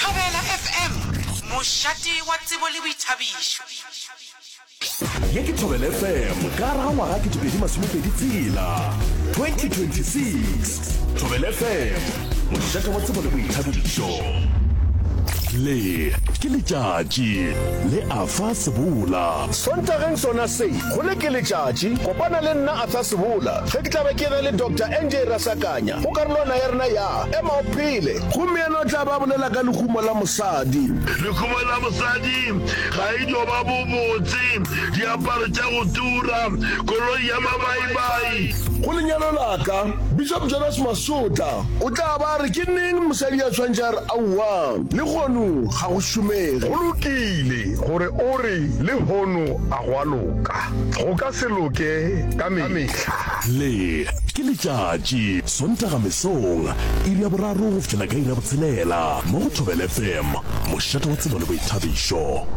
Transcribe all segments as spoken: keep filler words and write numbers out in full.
Thobela F M, mošate wa tsebo le boithabišo. Ye ke Thobela F M ka gare ga ngwaga ketepedi masomepedi tshela, twenty twenty-six. Thobela F M, mošate wa tsebo le boithabišo. Le ke letšatši le Afa Sebola. Sontageng sona se, go le ke letšatši, kopana le nna Arthur Sebola ge ke tla be ke na le Doctor N J Rasakanya go karolwana ya rena ya Ema o Phele. Gomme yena o tla ba bolela ka lehumo la mosadi. Lehumo la mosadi ga e dio ba bobotse, diaparo tša go tura, koloi ya mabaibai. Go lenyalo la ka, Bishop Jonas Masotla o tla ba re ke neng mosadi a tshwanetše a re aowa, lehono ga go šomege. Go lokile gore o re lehono a go a loka, go ka se loke ka mehla. Le ke letšatši, Sontaga mesong, iri ya boraro go fihlela ka iri ya botshelela, mo go Thobela F M, mošate wa tsebo le boithabišo.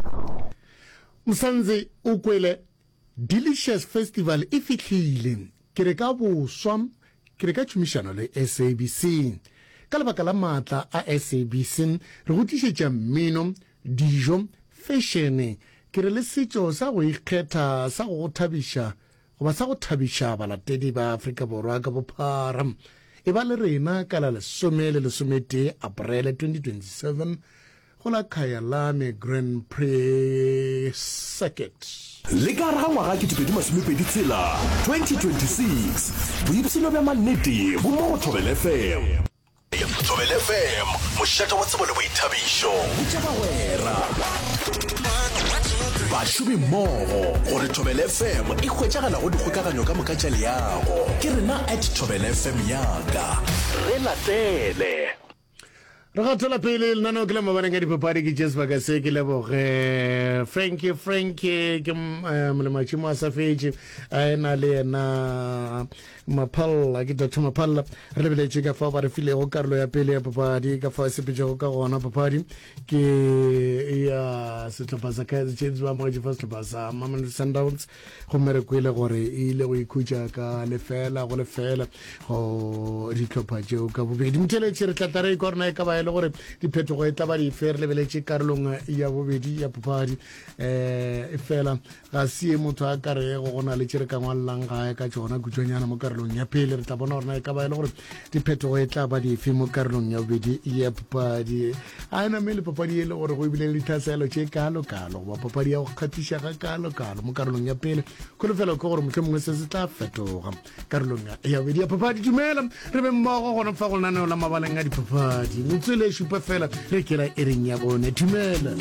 Msanzi o kwele Delicious Festival e fihlile. Ke re ka boswa, ke re ka tšhomišano le S A B C. Ka lebaka la maatla a S A B C, re go tlišetša mmino, dijo, fešene, ke re le setšo sa go ikgetha sa go go thabiša goba sa go thabiša balatedi ba Afrika Borwa ka bophara. E ba le rena ka la lesome le lesometee Aprele twenty twenty-seven go la Kyalami Grand Prix Circuit. Le ka gare ga ngwaga ketepedi masomepedi tshela, twenty twenty-six, boipshino bja mannete bo mo go Thobela F M. Thobela F M, mošate wa tsebo le boithabišo. Botša bagwera, bašomi mmogo gore Thobela F M e hwetšagala go dikgokaganyo ka moka tša leago. Ke rena at Thobela F M yaka. Re latele. Re gatela pele lenaneo ke la mabaleng a dipapadi. Ke tše sebaka se ke leboge Frankie. Frankie ke eh, molematšhimo a sa fetše a ena le yena Maphalla, ke Doctor Maphalla. Re lebeletše ka fao ba re filego karolo ya pele ya papadi, ka fao e sepetšego ka gona. Papadi ke ya sehlopha sa Kaizer Chiefs ba amogetše fa sehlopha sa Mamelodi Sundowns, gomme re kwele gore e ile go ikhutša ka lefela go lefela go dihlopha tšeo ka bobedi. Motheletše re tla tla re ikwa rona e ka ba e le gore diphetogo e tla ba dife re lebeletše karolong ya bobedi ya papadi. um e fela ga se ye motho a ka rego go na le tše re ka ngwalelang gae ka tšona kutšwanyana mo karolong ya pele. Re tla bona gorena e ka ba e le gore diphetogo e tla ba dife mo karolong ya bobedi ya papadi. A e name le papadi e le gore go ebile le ditlhaselo tše kalo-kalo goba papadi ya go kgathiša ga kalo-kalo mo karolong ya pele. Kholofelo ke gore mohlomongwe se se tla fetoga karolong ya bobedi ya papadi. Dumela, re be mmogo gona fa go lenaneo la mabaleng a dipapadi. Metswele e šupa fela re kela e reng ya bone. Dumela.